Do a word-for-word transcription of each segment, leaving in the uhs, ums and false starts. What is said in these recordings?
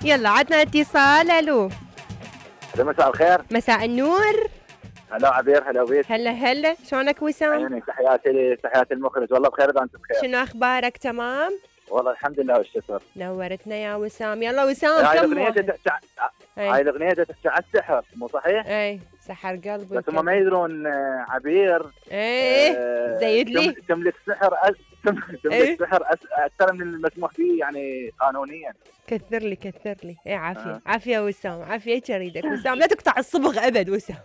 يلا عدنا اتصال. الو مساء الخير. مساء النور. هلا عبير، هلا بيك. هلا هلا، شلونك وسام؟ عيونك، تحياتي تحياتي المخرج. والله بخير اذا انت بخير. شنو اخبارك؟ تمام والله الحمد لله والشكر. نورتنا يا وسام. يلا وسام، هاي كم الاغنيه واحد؟ تحكي هاي الاغنيه تحكي على السحر، مو صحيح؟ اي سحر قلبي، بس هم ما يدرون آه، عبير ايه آه، زيد لي تم- تملك سحر أس... تملك إيه؟ سحر أس... اكثر من المسموح به يعني قانونيا. كثر لي كثر لي. ايه عافيه آه. عافيه وسام، عافيه اريدك وسام، لا تقطع الصبغ ابد وسام.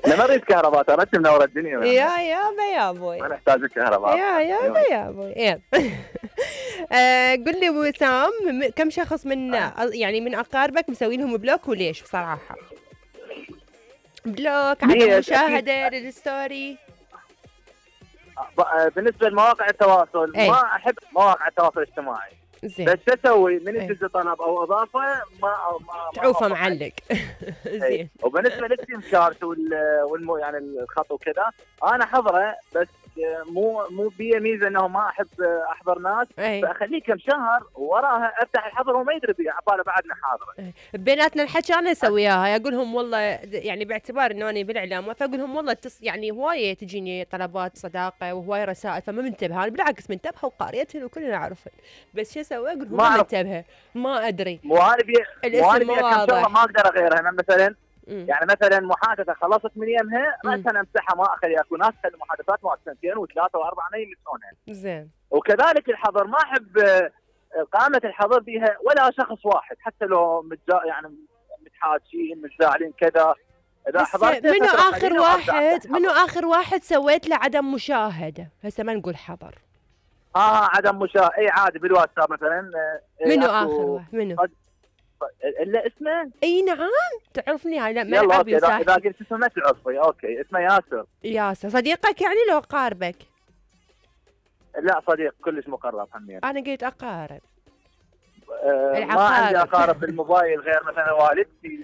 لا ما اريد كهرباء، ترى انت منور الدنيا. يا يابا يا ابوي، ما نحتاج الكهرباء. يا يابا يا ابوي. يلا آه، قل لي وسام، م- كم شخص من يعني من اقاربك مسوي لهم بلوك وليش بصراحه؟ بلوك، عدم ليش؟ مشاهده للستوري. ب- بالنسبه لمواقع التواصل إيه. ما احب مواقع التواصل الاجتماعي. زين بس شو اسوي؟ من إيه. يجي طلب او اضافه ما ما ما تعوفه ما- معلق. إيه. زين وبالنسبه للسيم كارت وال والمو يعني الخط وكذا انا حضره، بس مو مو بي ميزه انه ما احب احضر ناس، اي فاخليه كم شهر وراها افتح الحظر وما يدري بي عباله بعدنا حاضره. بيناتنا الحكي انا اسويها، اقول لهم والله يعني باعتبار انه انا بالاعلام، فاقول لهم والله تص يعني هوايه تجيني طلبات صداقه وهوايه رسائل، فما منتبهه انا، بالعكس منتبهه وقاريتهن وكلنا نعرفهن، بس شو اسوي؟ اقول لهم ما ما أعرف. منتبهه، ما ادري مو انا بي مو انا الاسم بي مو كم شغله واضح. ما اقدر اغيرها. انا مثلا مم. يعني مثلا محادثه خلصت من يمها مم. مثلا امسحها، ما اخليها. اكو ناس تخلي محادثات مالت سنتين وثلاثه واربعه ما يمسحونها. زين وكذلك الحظر ما احب آه، قامه الحظر بها ولا شخص واحد، حتى لو متجا يعني متحاجين متزاعلين كذا. اذا بس حضرت منو فترة اخر قليلة ما أبدأ واحد أفتح منو حظر. اخر واحد سويت له عدم مشاهده؟ هسه ما نقول حظر. اه عدم مشاهده، اي عادي بالواتساب مثلا. آه، منو أكو- اخر واحد؟ منو؟ الا اسمه. اي نعم تعرفني هاي، لا يلا ملعبي اوكي، اذا إذا وساحتي. قلت اسمه ما تعرفي. اوكي اسمه ياسر. ياسر صديقك يعني لو قاربك؟ لا صديق كلش مقرب همين. انا قلت اقارب. آه، ما العقارب. عندي اقارب بالموبايل غير مثلا والدتي